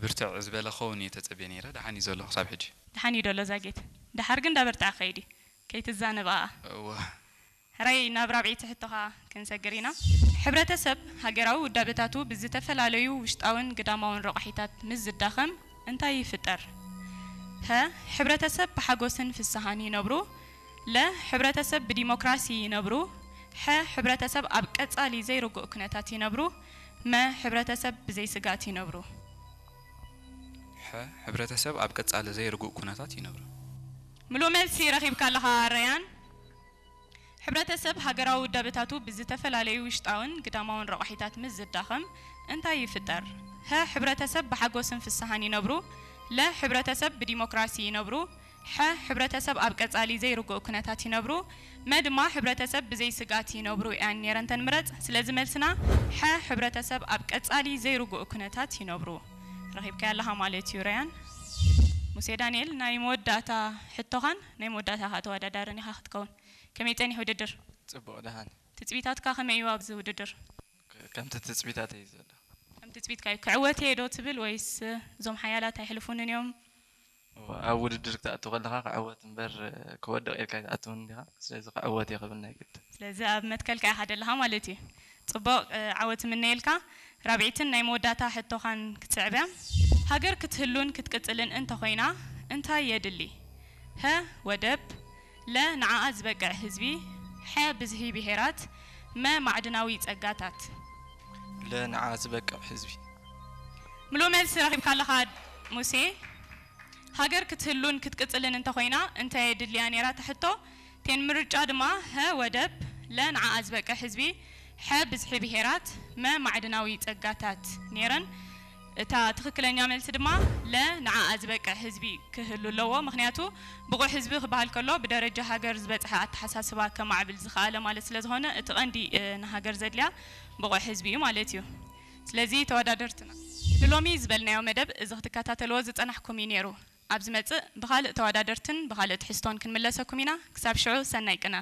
ብርትዕ ዝበለ ክኸውን እየ ተጸብየ ነይረ። ደሓን እዩ ዘሎ ክሳብ ሕጂ። ደሓን እዩ ደሎ ዛጌት። ደሓር ግን እንዳበርትዐ ከይድ እዩ። ከይትዛነብ ኣኣ። እወ። ሕራይ ናብ ራብዐይቲ ሕቶኻ ክንሰግር ኢና። ሕብረተሰብ ሃገራዊ ውዳበታቱ ብዝተፈላለዩ ውሽጣውን ግዳማውን ረቋሒታት ምስ ዝዳኸም እንታይ ይፍጠር? ሀ፣ ሕብረተሰብ ብሓጎስን ፍስሃን ይነብሩ። ለ፣ ሕብረተሰብ ብዲሞክራሲ ይነብሩ። ሐ፣ ሕብረተሰብ ኣብ ቀጻሊ ዘይርጉእ ኩነታት ይነብሩ። መ፣ ሕብረተሰብ ብዘይ ስግኣት ይነብሩ። ሐ፣ ሕብረተሰብ ኣብ ቀጻሊ ዘይርጉእ ኩነታት ይነብሩ። ምሉእ መልሲ ረኺብካ ኣለኻ ረያን። ሕብረተሰብ ሃገራዊ ውዳበታቱ ብዝተፈላለዩ ውሽጣውን ግዳማውን ረቋሒታት ምስ ዝዳኸም እንታይ ይፍጠር? ሀ፣ ሕብረተሰብ ብሓጎስን ፍስሃን ይነብሩ። ለ፣ ሕብረተሰብ ብዲሞክራሲ ይነብሩ። ሐ፣ ሕብረተሰብ ኣብ ቀጻሊ ዘይርጉእ ኩነታት ይነብሩ። መ ድማ ሕብረተሰብ ብዘይ ስግኣት ይነብሩ እያን ነይረን ተን ምረጽ። ስለዚ መልስና ሐ፣ ሕብረተሰብ ኣብ ቀጻሊ ዘይርጉእ ኩነታት ይነብሩ። ረኺብካያ ኣለኻ ማለት እዩ ረያን። ሙሴ ዳንኤል፣ ናይ መወዳእታ ሕቶኻን ናይ መወዳእታ ከኣ ተወዳዳርን ኢኻ ክትከውን። ከመይ ጸኒሑ ውድድር? ጽቡቕ፣ ደሓን። ትጽቢታትካ ከመይ እዩ ኣብዚ ውድድር? ከምቲ ትጽቢታተይ እዩ ዘሎ። ከም ትጽቢትካ እዩ። ክዕወት እየ ዶ ትብል ወይስ እዞም ሓያላት ኣይሕልፉንን እዮም? እወ፣ ኣብ ውድድር ክትኣቱ ከለኻ ክዕወት እምበር ክወድቕ ኢልካ ኣይትኣትውን እንዲኻ። ስለዚ ክዕወት እየ ክብል ናይ ግድን። ስለዚ ኣብ መትከልካ ኢኻ ደለኻ ማለት እዩ። ጽቡቕ፣ እ፣ ዓወት እምነየልካ። ራብዒትን ናይ መወዳእታ ሕቶኻን ክትስዕብ እያ። ሃገር ክትህሉን ክትቅጽልን እንተኾይና እንታይ የድሊ? ሀ፣ ወደብ፣ ለ፣ ንዓኣ ዝበቅዕ ህዝቢ፣ ሐ፣ ብዝሒ ብሄራት፣ መ፣ ማዕድናዊ ጸጋታት። ለ፣ ንዓኣ ዝበቅዕ ህዝቢ። ምሉእ መልሲ ረኺብካ ኣለኻ ሙሴ። ሃገር ክትህሉን ክትቅጽልን እንተኾይና እንታይ የድልያ ነይራ እታ ሕቶ? ቴን ምርጫ ድማ ሀ፣ ወደብ፣ ለ፣ ንዓኣ ዝበቅዕ ህዝቢ፣ ሐ፣ ብዝሒ ብሄራት፣ መ፣ ማዕድናዊ ጸጋታት ነይረን። እታ ትኽክለኛ መልሲ ድማ ለ፣ ንዓኣ ዝበቅዕ ህዝቢ ክህሉ ኣለዎ። ምኽንያቱ ብቑዕ ህዝቢ ክበሃል ከሎ ብደረጃ ሃገር ዝበጽሐ ኣተሓሳስባ ከማዕብል ዝኸኣለ ማለት ስለ ዝኾነ እቲ ቀንዲ፣ እ፣ ንሃገር ዘድልያ ብቑዕ ህዝቢ እዩ ማለት እዩ። ስለዚ ተወዳደርትና ንሎሚ ዝበልናዮ መደብ እዚ ክትከታተልዎ ዝጸናሕኩም እዩ ነይሩ። ኣብ ዝመጽእ ብኻልእ ተወዳደርትን ብኻልእ ትሕዝቶን ክንምለሰኩም ኢና። ክሳብ ሽዑ ሰናይ ቅነ።